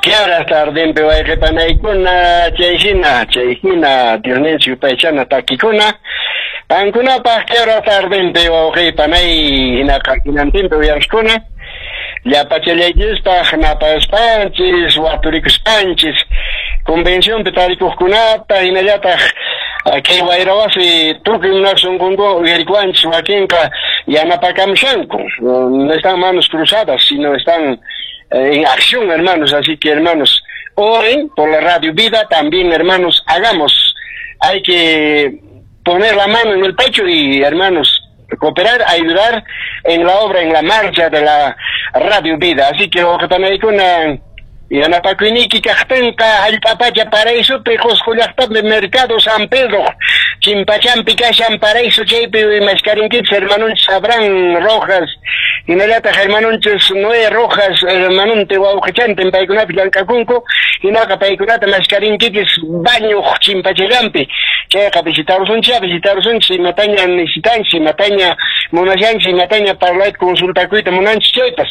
Qué tardinpi wayqipanaykuna, chay hina Diosninchik yupaychana takikuna qankunapaq. Qué hora tardinpi, wawqipanay, hinaqa hinantinpi uyariqkuna, llapachallaykispaq napaspanchis, waturikuspanchis convencionpi tarikuqkunata, hinallataq kay wayrawasi tukuy munaq sunqunku uyarikuwanchis. Wakinqa yanapakamushanku, no están manos cruzadas, sino están en acción, hermanos. Así que, hermanos, oren por la Radio Vida también, hermanos, hagamos. Hay que poner la mano en el pecho y, hermanos, cooperar, ayudar en la obra, en la marcha de la Radio Vida. Así que, wawqipanaykuna, yanapakuyniyki kaqtinqa, hallp'a pacha paraísopi, Qusqu llaqtapi, mercado San Pedro chimpachampi kashan paraíso, chaypi maskarinkichis hermanonchis Abraham Rojas, hinallataq hermanonchis Noé Rojas, hermanonte wawqichantin, paykunapi llank'akunku. Hinaqa paykunata maskarinkichis bañuq chimpachallanpi. Chayqa visitarusunchis, visitarusunchis imataña necesitanchis, imataña munashanchis, imataña parlayta, consultakuyta munanchis chaypas.